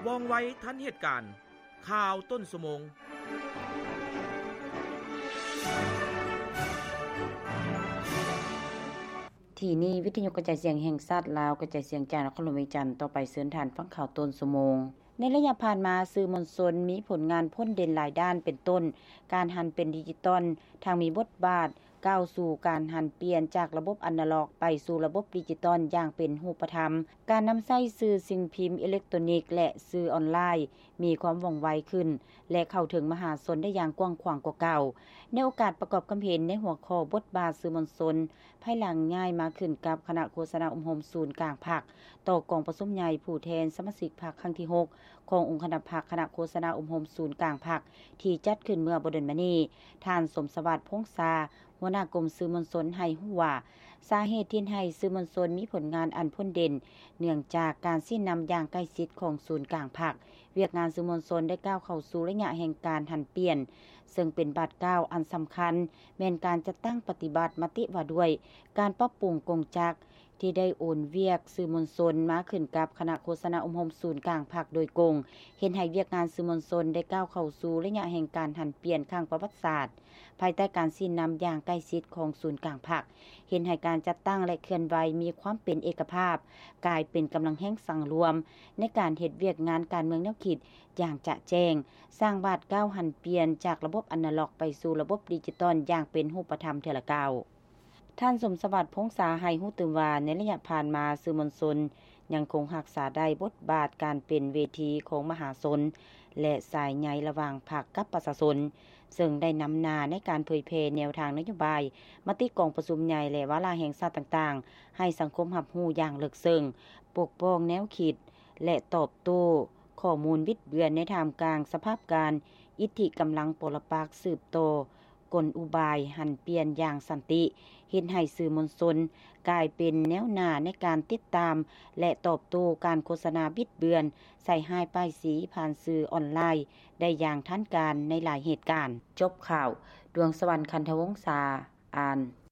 ວ່ອງໄວທັນເຫດການ. ຂ່າວຕົ້ນຊົ່ວໂມງ. ທີ່ນີ້ ວິທະຍຸກະຈາຍສຽງແຫ່ງຊາດລາວ ກະຈາຍສຽງຈາກນະຄອນຫຼວງວຽງຈັນ. ຕໍ່ໄປເຊີນທ່ານຟັງຂ່າວຕົ້ນຊົ່ວໂມງ. ໃນໄລຍະຜ່ານມາ, ສື່ມວນຊົນມີຜົນງານພົ້ນເດັ່ນຫຼາຍດ້ານ ເປັນຕົ້ນ ການຫັນເປັນດິຈິຕອນ, ທັງມີບົດບາດ ກ້າວສູ່ການຫັນປ່ຽນຈາກລະບົບອານາລັອກໄປສູ່ລະບົບດິຈິຕອນຢ່າງເປັນຮູບປະທຳ, ການນຳໃຊ້ສື່ສິ່ງພິມເອເລັກໂຕຣນິກ ແລະ ສື່ອອນລາຍ ມີຄວາມວ່ອງໄວຂຶ້ນ ແລະ ເຂົ້າເຖິງມະຫາຊົນໄດ້ຢ່າງກວ້າງຂວາງກວ່າເກົ່າ. ໃນໂອກາດປະກອບຄຳເຫັນໃນຫົວຂໍ້ບົດບາດສື່ມວນຊົນ ພາຍຫຼັງຍ້າຍມາຂຶ້ນກັບຄະນະໂຄສະນາອົບຮົມສູນກາງພັກ ຕໍ່ກອງປະຊຸມໃຫຍ່ຜູ້ແທນສະມາຊິກພັກຄັ້ງທີຫົກ ຂອງອົງຄະນະພັກຄະນະໂຄສະນາອົບຮົມສູນກາງພັກ ທີ່ຈັດຂຶ້ນເມື່ອບໍ່ດົນມານີ້, ທ່ານ ສົມສະຫວັດ ພົງສາ ຫົວໜ້າກົມສື່ມວນຊົນໃຫ້ຮູ້ວ່າ ສາເຫດທີ່ເຮັດໃຫ້ສື່ມວນຊົນມີຜົນງານອັນພົ້ນເດັ່ນ ເນື່ອງຈາກການຊີ້ນຳຢ່າງໃກ້ຊິດຂອງສູນກາງພັກ. ວຽກງານສື່ມວນຊົນໄດ້ກ້າວເຂົ້າສູ່ໄລຍະແຫ່ງການຫັນປ່ຽນ, ເຊິ່ງເປັນບາດກ້າວອັນສຳຄັນ ແມ່ນການຈັດຕັ້ງປະຕິບັດມະຕິວ່າດ້ວຍການປັບປຸງກົງຈັກ ທີ່ໄດ້ໂອນວຽກສື່ມວນຊົນມາຂຶ້ນກັບຄະນະໂຄສະນາອົບຮົມສູນກາງພັກໂດຍກົງ, ເຮັດໃຫ້ວຽກງານສື່ມວນຊົນໄດ້ກ້າວເຂົ້າສູ່ໄລຍະແຫ່ງການຫັນປ່ຽນຄັ້ງປະຫວັດສາດ ພາຍໃຕ້ການຊີ້ນຳຢ່າງໃກ້ຊິດຂອງສູນກາງພັກ, ເຮັດໃຫ້ການຈັດຕັ້ງ ແລະ ເຄື່ອນໄຫວມີຄວາມເປັນເອກະພາບ, ກາຍເປັນກຳລັງແຮງສັງລວມໃນການເຮັດວຽກງານການເມືອງແນວຄິດຢ່າງຈະແຈ້ງ, ສ້າງບາດກ້າວຫັນປ່ຽນຈາກລະບົບອານາລັອກໄປສູ່ລະບົບດິຈິຕອນຢ່າງເປັນຮູບປະທຳເທື່ອລະກ້າວ. ທ່ານ ສົມສະຫວັດ ພົງສາ ໃຫ້ຮູ້ຕື່ມວ່າ ໃນໄລຍະຜ່ານມາ ສື່ມວນຊົນຍັງຄົງຮັກສາໄດ້ບົດບາດການເປັນເວທີຂອງມະຫາຊົນ ແລະ ສາຍໃຍລະຫວ່າງພັກກັບປະຊາຊົນ, ເຊິ່ງໄດ້ນຳໜ້າໃນການເຜີຍແຜ່ແນວທາງນະໂຍບາຍ, ມະຕິກອງປະຊຸມໃຫຍ່ ແລະ ວາລະແຫ່ງຊາດຕ່າງໆ ໃຫ້ສັງຄົມຮັບຮູ້ຢ່າງເລິກເຊິ່ງ, ປົກປ້ອງແນວຄິດ ແລະ ຕອບໂຕ້ຂໍ້ມູນບິດເບືອນໃນທ່າມກາງສະພາບການອິດທິກຳລັງປໍລະປັກສືບຕໍ່ ກົນອຸບາຍຫັນປ່ຽນຢ່າງສັນຕິ, ເຮັດໃຫ້ສື່ມວນຊົນກາຍເປັນແນວໜ້າໃນການຕິດຕາມ ແລະ ຕອບໂຕ້ການໂຄສະນາບິດເບືອນ, ໃສ່ຮ້າຍປ້າຍສີຜ່ານສື່ອອນລາຍໄດ້ຢ່າງທັນການໃນຫຼາຍເຫດການ. ຈົບຂ່າວ. ດວງສະຫວັນ ຄັນທະວົງສາ ອ່ານ.